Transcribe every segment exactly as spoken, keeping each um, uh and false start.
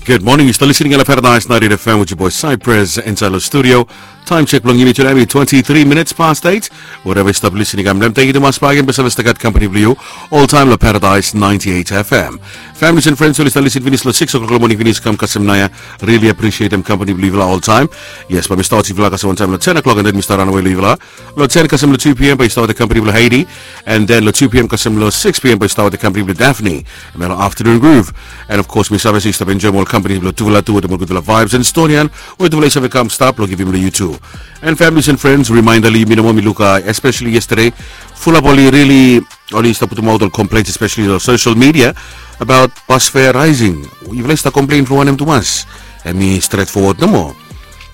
Good morning, yu stap listening long Paradise ninety-eight F M with your boy Cypress inside the studio. Time check blong yumi today be twenty-three minutes past eight. Wherever yu stap listening, I'm Lem. Thank you tumas bak agen, be save stap gat company blong yu all time long Paradise ninety-eight F M. Families and friends, oli stap listening finis long six o'clock long morning finis kam kasem naoia. Really appreciate them company blong yufala all time. Yes, bae mi stap waching yufala kasem wantaem long ten o'clock, and then mi stap ranawe long yufala. Long ten kasem long two p.m. bae yu stap wetem company blong Haiti. And then long two p.m. kasem long six p.m. bae yu stap wetem company blong Daphne. Hemia long Afternoon Groove. And of course, mi save se yu stap enjoem ol company blong tufala tu wetem ol gudfala vibes and storian we tufala yu save kam stap long givim long yu tu. And families and friends, reminder long yumi nomo, mi luk, uh, especially yesterday, fulap oli really, oli stap putumaot ol complaints, especially long social media, about bus fare rising. Yufala i stap complain blong wanem tumas? Hemi straightforward nomo.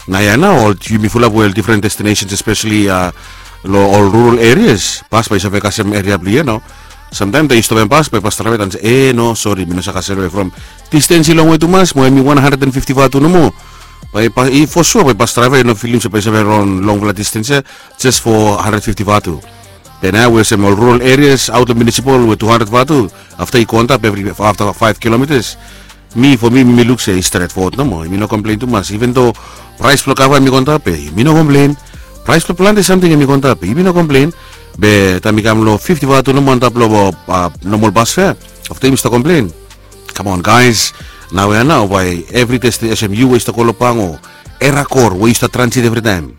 Naoia nao ol yumi fulap we ol different destinations, especially, uh, long ol rural areas, bus bae yu save kasem eria blong yu ya nao. Samtaem taem yu stopem bus, bae bus driver i talem se, "E, no, sori, mi no save kasem we from distance i longwe tumas mo hemi one hundred and fifty vatu nomo." Bae, bae, i for sure bae bus driver i no filim se bae yu save ran longfala distance ya just for hundred fifty vatu. Then, uh, we olsem ol rural areas aot long municipal we two hundred vatu afta i go antap evri afta five kilometers. Mi, for mi, mi luk se i straightforward nomo, yumi no complain tumas. Even though price blong kava hemi go antap, be yumi no complain. Price blong plante samting hemi go antap, be yumi no complain. Be taem i kam long fifty vatu nomo antap long, uh, normal bus fare, afta yumi stap complain. Come on, guys. Naoia nao bae evri destination, S M U we yu stap go long Pango, Aeracor we yu stap transit evritaem.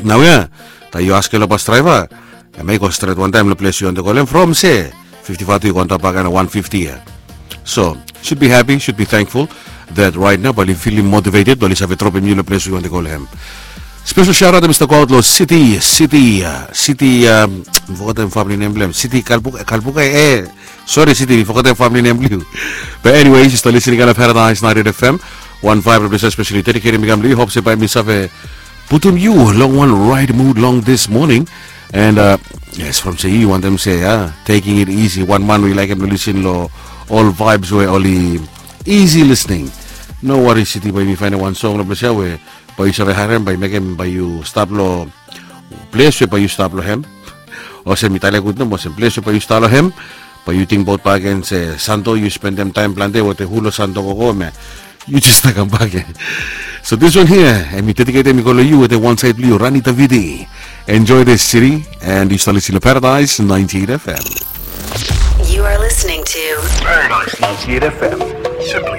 Naoia taem yu askem long bus driver, hemi go stret wantaem long ples yu wantem go long hem, from se fifty vatu i go antap bakegen long one fifty ya. So, should be happy, should be thankful that right now bae oli filim motivated, bae oli save dropem yu long ples yu wantem go long hem. Special shout out, Mister Gold, long City, City, uh, City, um, mi fogetem famili nem blong hem. City Kalbuka, Kalbuka, e, sori City, mi fogetem famili nem blong yu. But anyways, yu stap listening long Paradise ninety-eight F M. Wan vibe long ples ya specially dedicated mi kam long yu. Hope se bae mi save putum yu long wan right mood long this morning. And, uh, yes, from se yu wantem se, uh, taking it easy, wan man we yu laekem long listen long ol vibes we oli easy listening. No worry City, bae mi faenem wan song long ples ya we bae yu save harem, bae mekem bae yu stap long ples we bae yu stap long hem. Olsem mi talem gud nomo, olsem ples we bae yu stap long hem, bae yu tingbaot bakegen se Santo yu spendem taem plante wetem hu long Santo gogo, me yu jes stap kam bakegen. So this one here, hemi dediketem i go long yu wetem wan saed blong yu, Rani Davidi. Enjoy this, City, and yu stap listening long Paradise ninety-eight F M. You are listening to Paradise ninety-eight F M.